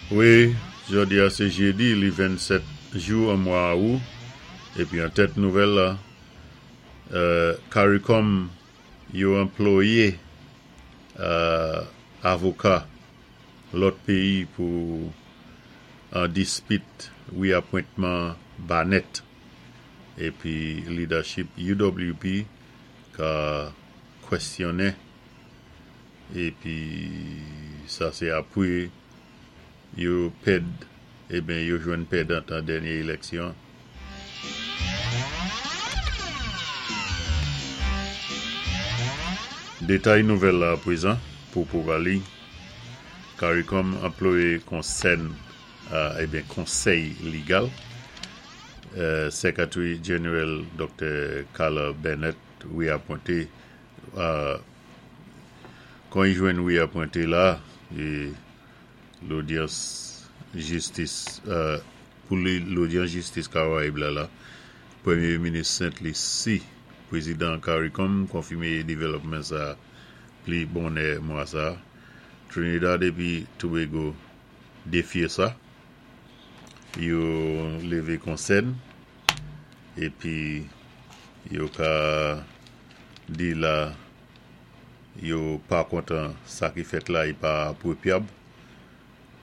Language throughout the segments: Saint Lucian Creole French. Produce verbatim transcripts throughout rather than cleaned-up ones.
Wi, jòdi-a sé jédi, li vennsèt jou an mwa Awou, épi an tèt nouvèl la, euh, CARICOM yo anplwoyé euh, avoka lòt péyi pou an dispit wéapwentman Barnett épi leadership U W P ka kwèsyonnen épi sa sé apwé yo pèd eben yo jwenn pèdant an dènyé éléksyon. Détay nouvèl la apwézan pou Pouvaly. CARICOM anplwoyé konsèn euh, eben konsèy légal. Euh, Secretary General Doktè Carla Bennett wéapwenté euh, kon i jwenn wéapwenté la é lodyans jistis euh, pou lodyans jistis Karayib la la Pwémyé Minis Sent Lisi, pwézidan CARICOM konfimé dévlopman sa pli bonnè mwa sa. Trinidad épi Tobago défyé sa. Yo lévé konsèn épi yo ka di la yo pa kontan sa ki fèt la, i pa apwopyab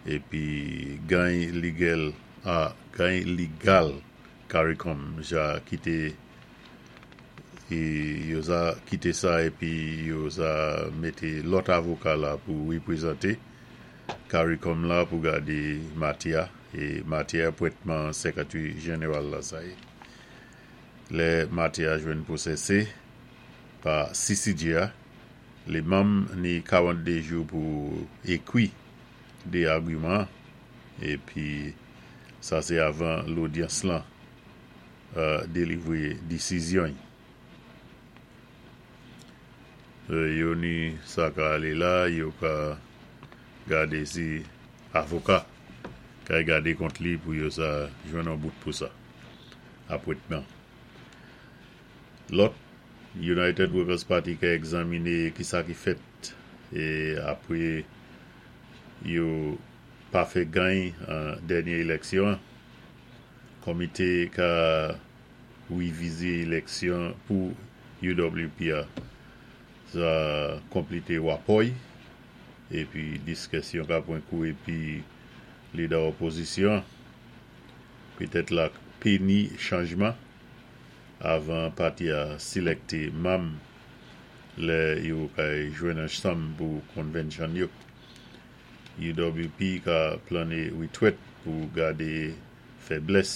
épi gany légal a gany légal CARICOM ja kité é yo za kité sa épi yo za mété lòt avoka la pou wépwézanté CARICOM la pou gadé matyè é matyè apwentman Secretary General la sa yé. Lè matyè a jwenn pwosésé pa C C J A, lé manm ni karanntdé jou pou ékwi dé agiman épi sa sé avan lodyans lan euh, délivwé désizyon. Euh, yo ni sa ka alé la, yo ka gadé si avoka kay gadé kont li pou yo sa jwenn an bout pou sa. Apwentman. Lòt, United Workers Party ka egzaminé ki sa ki fèt é apwé yo pa fè gany an dènyé éléksyon. Komité ka wévizé éléksyon pou U W P a sa konplété wapò-y épi diskisyon ka pwan kou épi lidè opozisyon pétèt la pé ni chanjman avan pati a silèkté manm lè yo kay jwenn ansanm pou convention yo. U W P ka planné witwèt pou gadé fèblès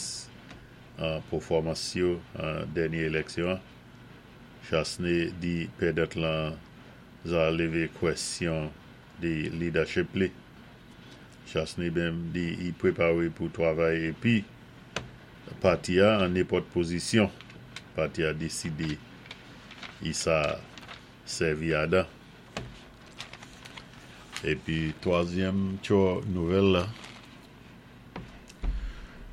an pèfòmans yo an dènyé éléksyon. Chastanet di pèdant lan za lévé kwèsyon de leadership li. Chastanet menm di i pwépawé pou twavay épi pati a an nenpòt pozisyon pati a désidé i sa sèvi adan. Épi twazyèm tjo nouvèl la,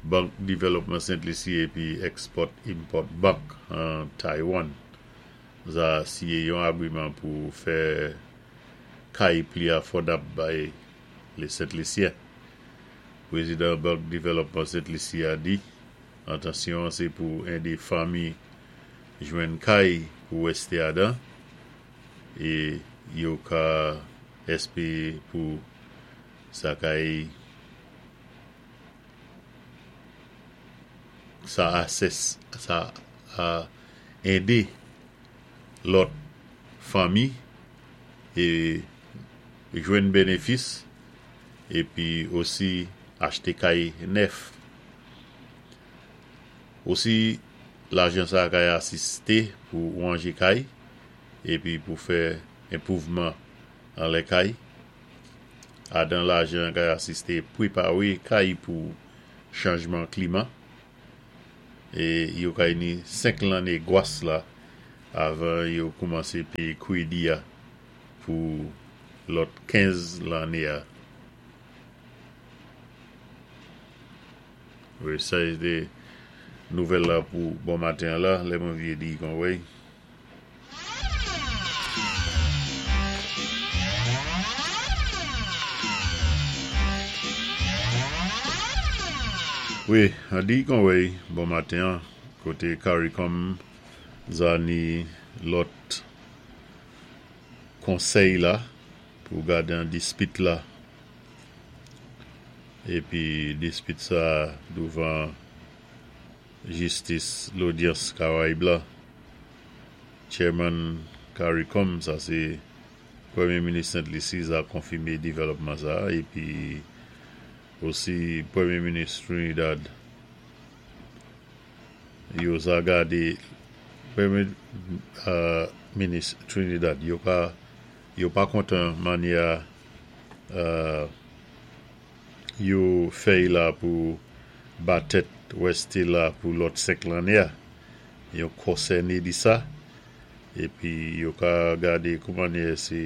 Bank Dévelopman Sent Lisi épi Export Import Bank an Taiwan za siyé yon agwiman pou fè kay pli afòdab bay lé Sent Lisyen. Pwézidan Bank Dévelopman Sent Lisi a di, entansyon sé pou édé fanmi jwenn kay pou wésté adan é yo ka èspéwé pou sa kay sa asès sa a édé lòt fanmi é jwenn bénéfis épi osi achté kay nèf. Osi lajan sa kay asisté pou wanjé kay épi pou fè enpwouvman an lè kay. Adan lajan kay asisté pwépawé kay pou chanjman klima. É yo kay ni senk lanné gwas la avan yo koumansé péyé kwédi a pou lòt kenz lanné a. Wi, sa sé nouvèl la pou bon maten la, lè mwen vyé di kon wèy. Wi, an di kon wéy, bon maten, koté CARICOM za ni lòt konsèy la pou gadé an dispit la. Épi dispit sa douvan jistis lodyans Karayib la. Chairman CARICOM, sa sé Pwémyé Minis Sent Lisi za konfimé dèvlòpman sa épi osi Pwémyé Minis Trinidad yo za gadé Pwémyé Minis Trinidad yo pa yo pa kontan mannyè yo fè'y la pou ba tèt wèsté la pou lòt senk lanné a. Yo konsèné di sa épi yo ka gadé kou mannyè sé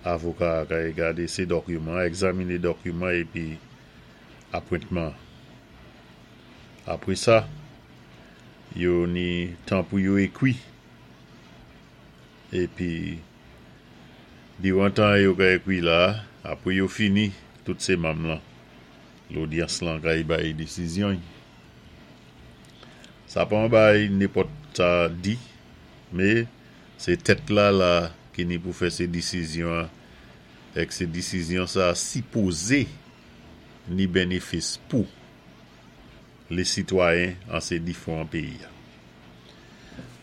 avoka kay gadé sé dokiman, egzaminé dokiman épi apwentman. Apwé sa, yo ni tan pou yo ékwi. Épi diwan tan yo ka ékwi la, apwé yo fini, tout sé manm lan. Lodyans lan kay bay désizyon. Sa pa an bay nenpòt sa di, mé sé tèt la la ki ni pou fè sé désizyon èk sé désizyon sa sipozé ni bénéfis pou lé sitwayen an sé difwan péyi.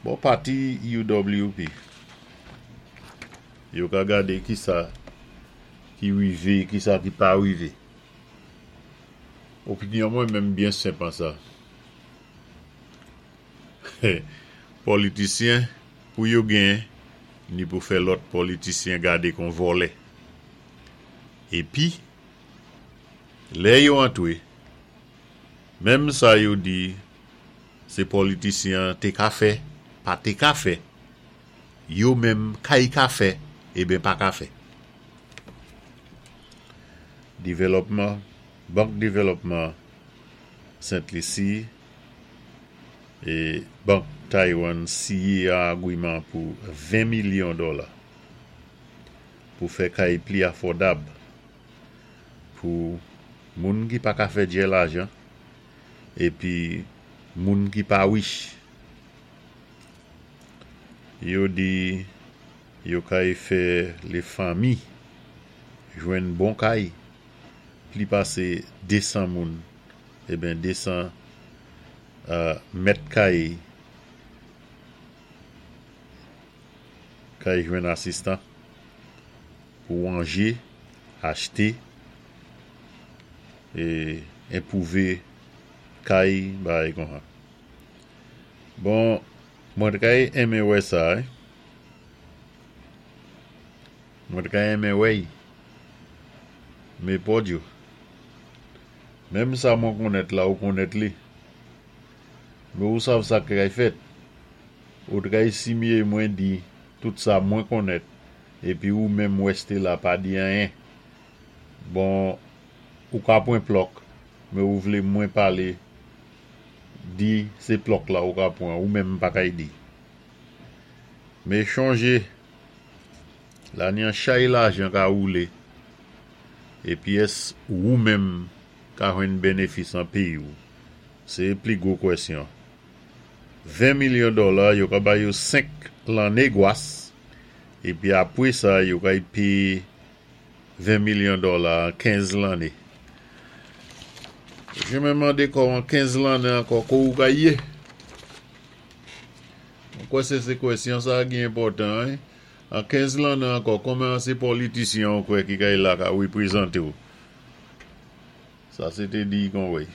Bon, pati U W P, yo ka gadé ki sa ki wivé, ki sa ki pa wivé. Opinyon mwen menm byen senp an sa. Politisyen pou yo gen, ni pou fè lòt politisyen gadé kon vòlè. Épi, lè yo antwé, menm sa yo di, sé politisyen té ka fè, pa té ka fè, yo menm kay ka fè, eben pa ka fè. Dévelopman, Bank Dévelopman Sent Lisi é Bank Taiwan sinyé an agwiman pou ven milyon dola pou fè kay pli afòdab pou moun ki pa ka fè djè lajan épi moun ki pa wich. Yo di yo kay fè lé fanmi jwenn bon kay pli pasé de san moun, eben de san mèt kay kay jwenn asistan pou wanje, achté é enpwouvé kay bagay kon sa. Bon, mwen té kay enmen wè sa, mwen té kay enmen wè'y, mé pòdyo. Menm sa mwen konnèt la ou konnèt li. Mé ou sav sa kay fèt. Ou té kay simyé mwen di tout sa mwen konnèt épi ou menm wèsté la pa di anyen. Bon, ou ka pwan plòk, mé ou vlé mwen palé di sé plòk la ou ka pwan, ou menm pa kay di. Mé chonjé, la ni an chay lajan ka woulé, épi ès ou menm ka jwenn bénéfis an péyi ou. Sé pli gwo kwèsyon. ven milyon dola, yo ka bay yo senk lanné gwas, épi apwé sa, yo kay péyé ven milyon dola an kenz lanné. Jé menm mandé kò an kenz lanné ankò ko ou kay yé. Mwen kwè sé sé kwèsyon sa ki enpòtan. An kenz lanné ankò, konmen an sé politisyen ou kwè ki kay la ka wépwézanté ou. Sa sé té di kon wéy.